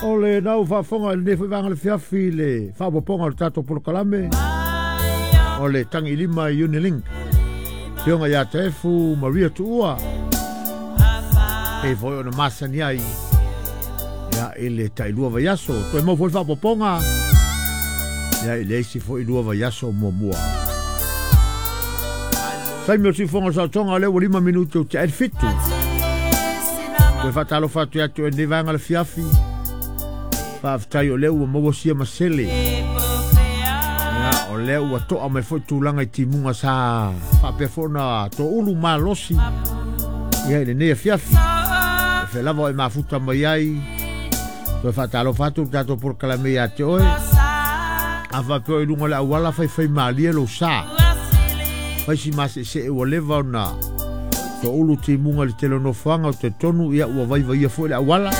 O le nau faafofoga i lenei foi vaega o le fiafi i le faaopoopoga o le tatou polokalame o le tagi lima i Unilink. Afioga ia Taefu Maria Tuua, pei foi ona masani ai ia, i le tailua vaiaso. Toe mau foi le faaopoopoga ia, i le isi foi lua vaiaso muamua. Taimi o le siufofoga o le saotoga o lea ua 5 minute o te 7. Toe faatalofa atu ia te oe i lenei vaega o le fiafi. Faafetai o lea ua maua sia masele. Ia, o lea ua toa mai foi tulaga i timuga sa faapea foi ona toulu malosi ia i lenei afiafi. E fea lava o e mafuta mai ai. Toe faatalofa atu le tatou polokalame ia te oe. A faapea o i luga o le auala faifai malie lou sa. Fai si maseesee ua leva ona toulu timuga i le tele o nofoaga o talitonu ia ua vaivaia foi le auala.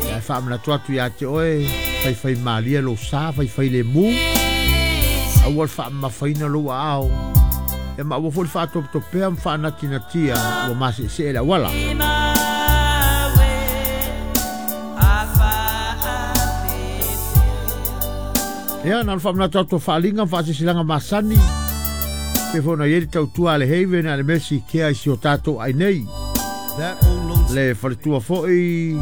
Ia e faamanatu atu ia te oe, faifai malie lou sa, faifai lemu. Aua le faamamafaina lou aao. Ia ma aua foi le faatopetopea ma faanatinatia ua maseesee le auala. Ia, na ona faamanatu atu o faaaliga ma faasilasilaga masani, pei foi ona i ai le tautua a le Haven a le Mercy Care i si o tatou ai nei. Le faletua foi,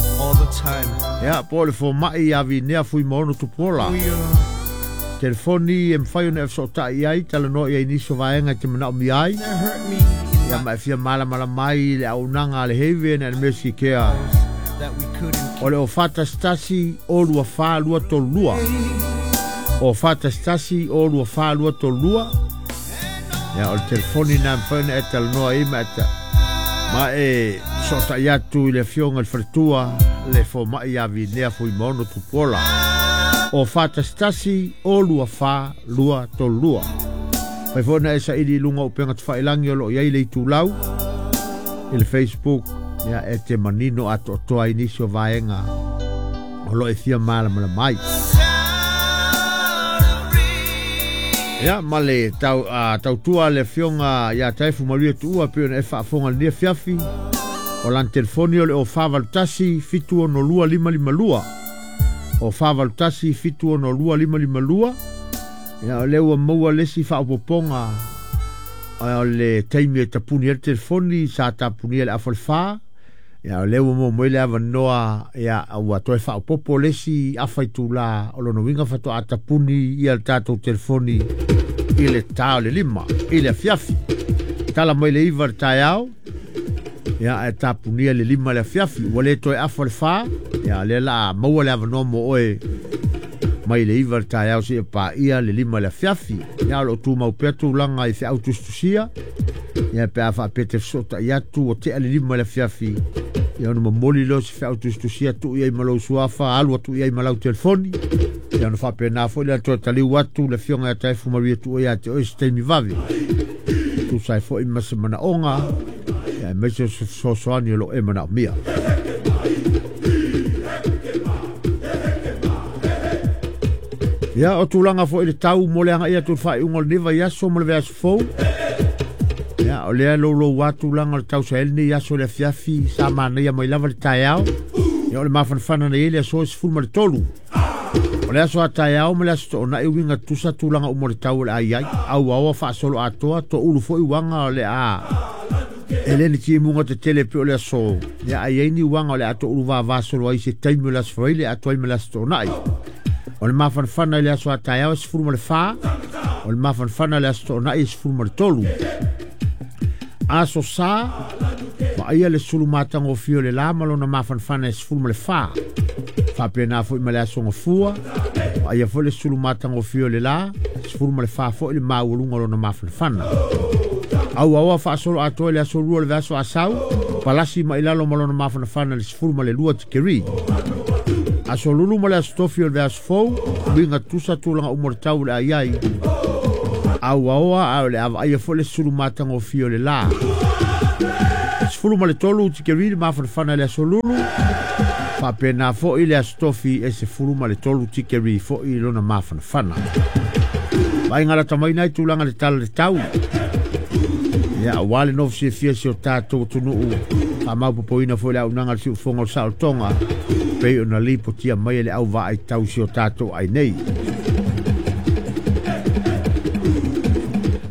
ia, po o le fomai ia Vinea Fuimaono Tupuola. Telefoni e mafai ona e fesootai i ai, talanoa i ai i nisi o vaega e te manaomia ai. Ia ma e fia malamalama ai i le auaunaga a le Haven a le Mercy Care. O le 041 024 232. 041 024 232. Ia, o le telefoni na e mafai ona e talanoa ai ma e ma e fesootai atu i le afioga i le faletua le fomai ia Vinea Fuimaono Tupuola. 041 024 232. Fai foi na e saili i luga o upega tafailagi o lo o i ai le itulau i le Facebook, ia e te manino atoatoa ai nisi o vaega o lo o e fia malamalama ai. Ia, ma le tau, tautua a le afioga ia Taefu Maria Tuua pei ona e faafofoga i lenei afiafi. O lana telefoni o le 0481 762 552. 0481 762 552. Ia, o lea ua maua le isi faaopoopoga o le taimi e tapuni ai le telefoni, sa tapunia i le afa o le 4. Ia, o lea ua maua mai le avanoa, ia, ua toe faaopoopo le isi afa itula, o lona uiga faatoa tapuni ia le tatou telefoni i le ta o le 5 i le afiafi. Tala mai le 9 le taeao, ia, ae tapunia le 5 le afiafi. Ua le toe afa le 4, ia, o lea la maua le avanoa mo oe mai le 9 le taeao seia paia le 5 le afiafi. Ia, o lo o tumau pea tulaga i feau tusitusia. Ia, pe a faapea te fesootai atu ua tea le 5 le afiafi, ia ona momoli lea o se feau tusitusia tuu i ai ma lou suafa, alu atu i ai ma lau telefoni. Ia ona faapena foi lea toe taliu atu le afioga ia Taefu Maria Tuua ia te oe se taimi vave. Tusa ai foi ma se manaoga, ia aemaise o se fesoasoani o lo o e manaomia. Ia, o tulaga foi i le tau mo le agai atu i le faaiuga o lenei vaiaso ma le vaiaso fou. Ia, o lea e loulou lava tulaga o le tau sa i ai lenei aso i le afiafi, sa manaia mai lava le taeao. Ia, o le mafanafana na i ai le aso e 13. O le aso a taeao ma le aso toonai uiga tutusa tulaga uma o le tau o le a i ai. Auaoa faasoloatoa, toulu foi uaga o le a e le ni timuga tetele pei o le aso. Ia, a i ai ni uaga o le a toulu vava solo ai i se taimi o le aso Faraile atoa ai ma le aso toonai. O le mafanafana i le aso a taeao e 14, o le mafanafana i le aso toonai e 13. Aso Sa, vaaia le sulu matagofie o le la ma lona mafanafana e 14. Faapena foi ma le aso Gafua, vaaia foi le sulu matagofie o le la, 14 foi le maualuga o lona mafanafana. Auaoa faasolo atoa i le aso 2 o le vaiaso Asau, palasi mai lalo ma lona mafanafana i le 12 tikeri. Aso Lulu ma le aso Tofi o le vaiaso fou, uiga tutusa tulaga uma o le tau o le a i ai. Auaoa a o le a vaaia foi le sulu matagofie o le la. 13 tikeri le mafanafana i le aso Lulu, faapena foi le aso Tofi e 13 tikeri foi lona mafanafana. Vaaiga lata mai nai tulaga i le tala o le tau. Ia, aua le nofo fiafia si o tatou atunuu, Faamaopoopoina foi le auaunaga a le Siufofoga o le Saolotoga pei ona lipotia mai e le au vaai tau si o tatou ai nei.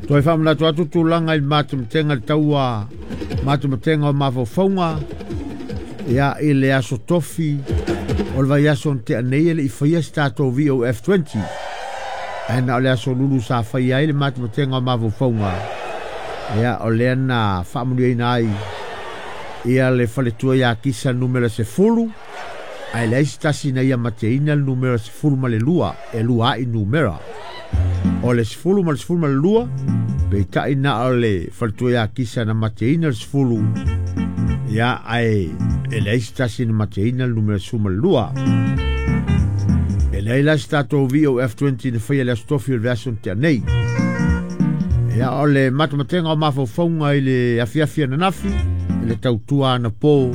Toe faamanatu atu tulaga i le matematega i le taua matematega o mafaufauga ia i le aso tofi o le vaiaso na tea nei e le i faia se tatou VOF20. Ae na o le aso lulu sa faia ai le matematega o mafaufauga ia o lea na faamanuiaina ai ia le faletua ia Kisa numera 10 ae leai se tasi na ia mateina le numera 12 e lua ai numera. O le 10 ma le 12 peitai na o le faletua ia Kisa na mateina le 10 ia ae e leai se tasi na mateina le numera 12. E leai la se tatou VOF20 na faia le aso tofi o le vaiaso na tea nei. Ia o le matematega o mafaufauga i le afiafi ananafi i le tautua anapo.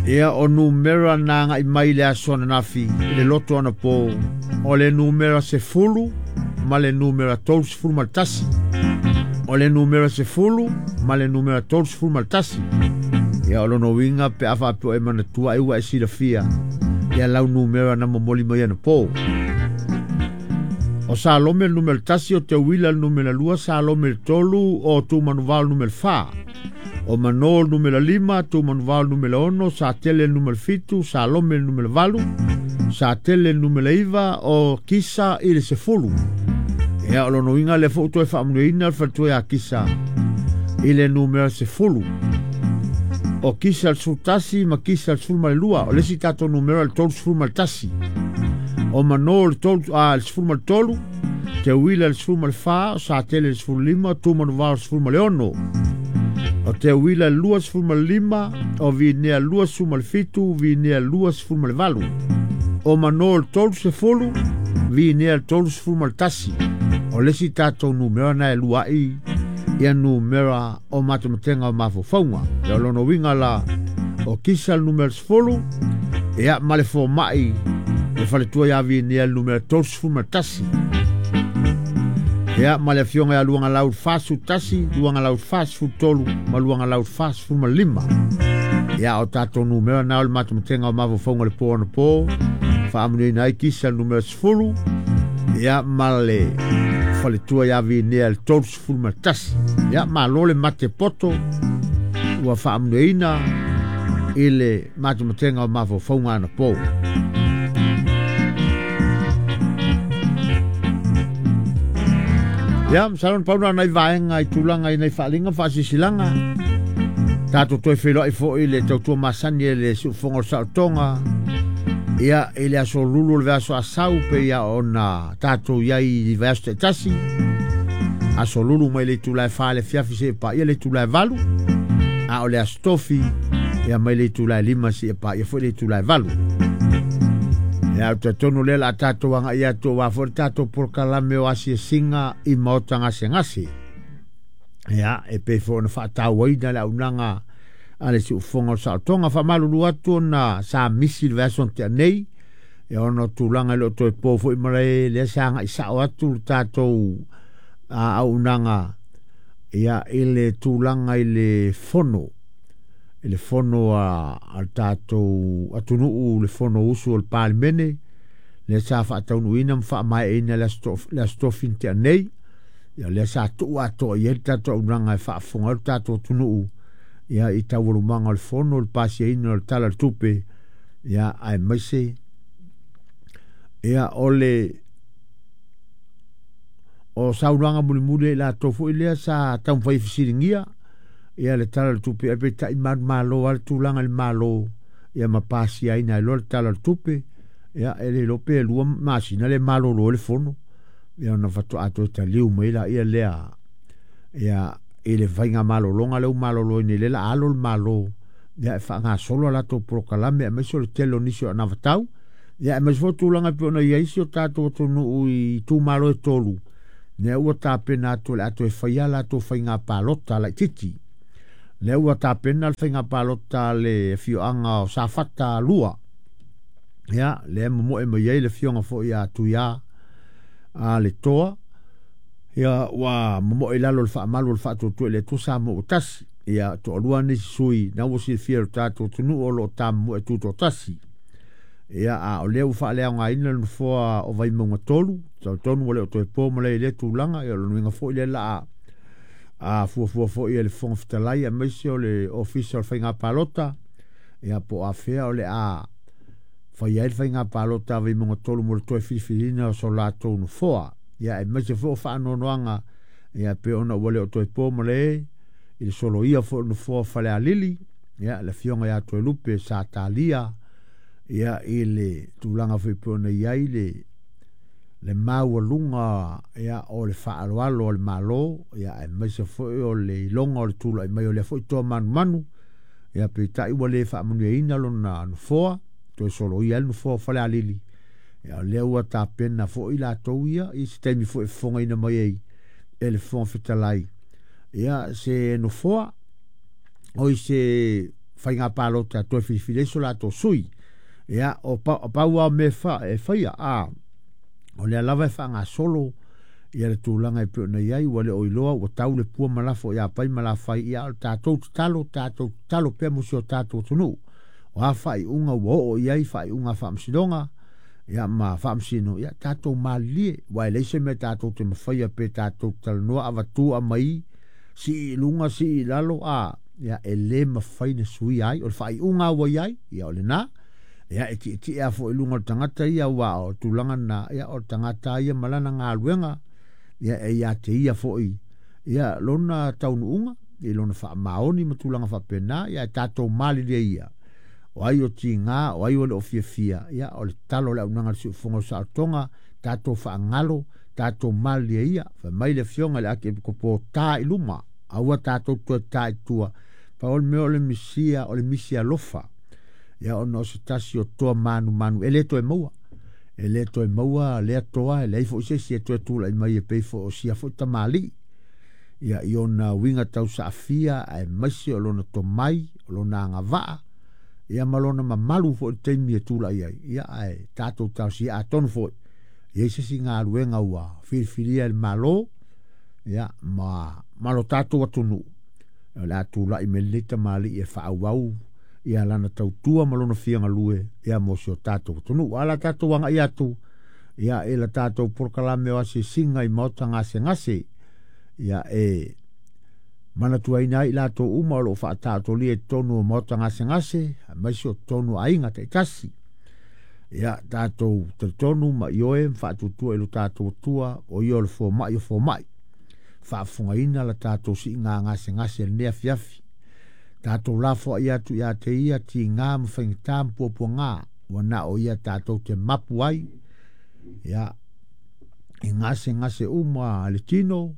Ia o numera na agai mai le aso ananafi i le loto anapo o le numera 10 ma le numera 31. O le numera 10 ma le numera 31. Ia o lona uiga pe a faapea e manatua ai ua e silafia ia lau numera na momoli mai anapo. O Salome le numera 1, o Teuila le numera 2, Salome le 3, o Tumanuvao le numera 4. O Mano le numera 5, Tumanuvao le numera 6, Satele le numera 7, Salome le numera 8, Satele le numera 9, o Kisa i le 10. Ia o lona uiga lea foi ua toe faamanuiaina le faletua ia Kisa i le numera 10. O Kisa le 11 ma Kisa le 12, o le isi tatou numera le 31. O Mano le 13, Teuila le 14, o Satele le 15, Tumanuvao le 16. O Teuila le 25, o Vinea 27, Vinea 28. O Mano le 30, Vinea le 31. O le isi tatou numera na e lua ai ia numera o matematega o mafaufauga. Ia o lona uiga la o Kisa le numera 10, ia ma le fomai le faletua ia Vinea le numera 31. Ia ma le afioga ia Luagalau le 41, Luagalau le 43 ma Luagalau le 45. Ia o tatou numera na o le matematega o mafaufauga le po anapo faamanuiaina ai Kisa le numera 10 ia ma le faletua ia Vinea le 31. Ia malo le mate poto ua faamanuiaina i le matematega o mafaufauga anapo. Ia, masalo na pau na nai vaega i tulaga i nai faaaliga ma faasisilanga. Tatou toe feiloai foi i le tautua masani e le Siufofoga o le Saolotoga. Ia, i le aso lulu o le vaiaso asau pe ia ona tatou i ai i vaiaso taitasi. Aso lulu mai le itula e 4 i le afiafi seia paia le itula e 8. A o le aso tofi, ia mai le itula e 5 seia paia foi le itula e 8. Ia, ou te talitonu lea o le a tatou agai atu aua foi le tatou polokalame o asiasiga i maota gasegase. Ia, e pei foi ona faatauaina le auaunaga a le Siufofoga o le Saolotoga. Faamalulu atu ona sa misi le vaiaso na tea nei, ia ona o tulaga e le o toe po foi malae lea sa agai sao atu le tatou auaunaga ia i le tulaga i le fono i le fono a le tatou atunuu, le fono usu o le Palemene, lea sa faataunuuina ma faamaeaina le aso tofi na tea nei. Ia lea sa tuu atoa i ai le tatou auaunaga e faafofoga ai le tatou atunuu ia i taualumaga o le fono, le pasiaina o le Tala o le Tupe, ia aemaise ia o le o saunoaga mulimuli a i latou foi lea sa taumafai e fesiligia ia le Tala o le Tupe, ae peitai manumalo lava le tulaga i le Malo ia ma pasiaina ai loa le Tala o le Tupe. Ia e le iloa pe 2 masina le malolo ai le fono ia ona faatoa toe taliu mai laia lea ia i le faigamalologa lea ua malolo ai nei, lea o le a alo le Malo ia e faagasolo a latou polokalame aemaise o le tele o nisi o anavatau ia aemaise foi o tulaga e pei ona i ai si o tatou atunuu i itumalo e 3 lea ua tapena atu o le a toe faia a latou faiga palota laitiiti. Lea ua tapena le faiga palota a le afioaga o Safata 2. Ia, lea e momoe mai ai le afioga foi ia Tuia a le Toa. Ia ua momoe i lalo o le faamalu o le faatuatua i le Atua Samoa ua tasi. Ia toalua nisi sui na ua silafia e lo tatou atunuu o lo o tamomoe tutoatasi. Ia a o lea ua faaleaogaina le nofoa o Vaimauga 3, talitonu ua le o toe po ma le i lea tulaga. Ia o lona uiga foi lea la a fuafua foi e le Fofoga Fetalai aemaise o le Ofisa o le Faiga Palota, ia po o afea o le a fai ai le faiga palota a Vaimauga 3 mo le toe filifiliina o so latou nofoa. Ia aemaise foi o faanoanoaga, ia pe ona ua le o toe po ma le i le soloia foi o le nofoa o Falealili, ia le afioga ia Toelupe sa talia ia i le tulaga foi pe ona i ai le maualuga ia o le faaaloalo a le Malo, ia aemaise foi o le iloga o le tulai mai o lea foi toa manumanu, ia peitai ua le faamanuiaina lona nofoa, toe soloia ai le nofoa o Falealili. Ia o lea ua tapena foi latou ia i se taimi foi e fofogaina mai ai e le Fofoga Fetalai ia se nofoa o i se faiga palota toe filifili ai so latou sui. Ia o pau lava o mea e faia, a o lea lava e faagasolo ia le tulaga e pei ona i ai, ua le o iloa ua tau le pua ma lafo ia pai ma lafai. Ia o le tatou tatalo pea mo si o tatou atunuu. O a faaiuga ua oo i ai faaiuga faamasinoga, ia ma faamasino, ia tatou malilie, ua e leai se mea tatou te mafaia pe tatou talanoa avatu amai sii i luga sii i lalo, a ia e le mafai na suia ai o le faaiuga ua i ai, ia o lena. Ia e tietie a foi i luga o le tagata ia, ua o tulaga na, ia o le tagata ia ma lana galuega, ia e ia te ia foi ia lona taunuuga i lona faamaoni ma tulaga faapena. Ia e tatou malilie ia o ai o tiga, o ai o le o fiafia, ia o le talo o le auaunaga a le siufofoga o saotoga, tatou faagalo, tatou malilie ia. Fai mai le afioga i le Akiepikopo, ta i luma, aua tatou toe ta i tua. Pau o le mea o le misia, o le misi alofa, ia ona o se tasi o toa manumanu e le toe maua. E le toe maua lea toa, e leai foi se isi e toe tulai mai e pei foi o sia foi tamalii. Ia i ona uiga tausaafia, aemaise o lona tomai, o lona agavaa, ia ma lona mamalu foi i le taimi e tulai ai. Ia ae tatou talosia atonu foi i ai se isi galuega ua filifilia e le Malo, ia ma lo tatou atunuu, o le a tulai mai lenei tamalii e faaauau ia lana tautua ma lona fia galue ia mo si o tatou atunuu. A la tatou agai atu ia i la tatou polokalame o asiasiga i maota gasegase, ia e manatuaina ai latou uma o lo o faataotolia i totonu o maota gasegase, aemaise o totonu o aiga taitasi. Ia tatou talitonu ma ioe ma faatuatua i lo tatou Atua, o ia o le fomai o fomai. Faafofogaina la tatou siiga gasegase i lenei afiafi. Tatou lafoai atu ia te ia tiga ma faigata ma puapuaga, ua na o ia tatou te mapu ai ia i gasegase uma a le tino,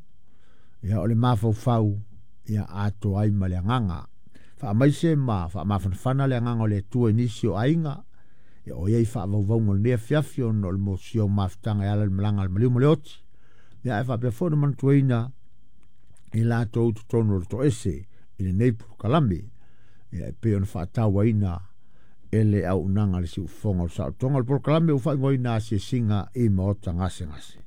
ia o le mafaufau, ia atoa ai ma le agaga. Faamaise ma faamafanafana le agaga o le Atua i nisi o aiga, ia o ia i faavauvauga o lenei afiafi ona o le mosia o mafutaga e ala i le malaga a le maliu ma le oti. Ia ae faapea foi ona manatuaina i latou totonu o le toese i lenei polokalame, ia e pei ona faatauaina e le auaunaga a le siufofoga o le saotoga. O le polokalame ua faaigoaina asiasiga i maota gasegase.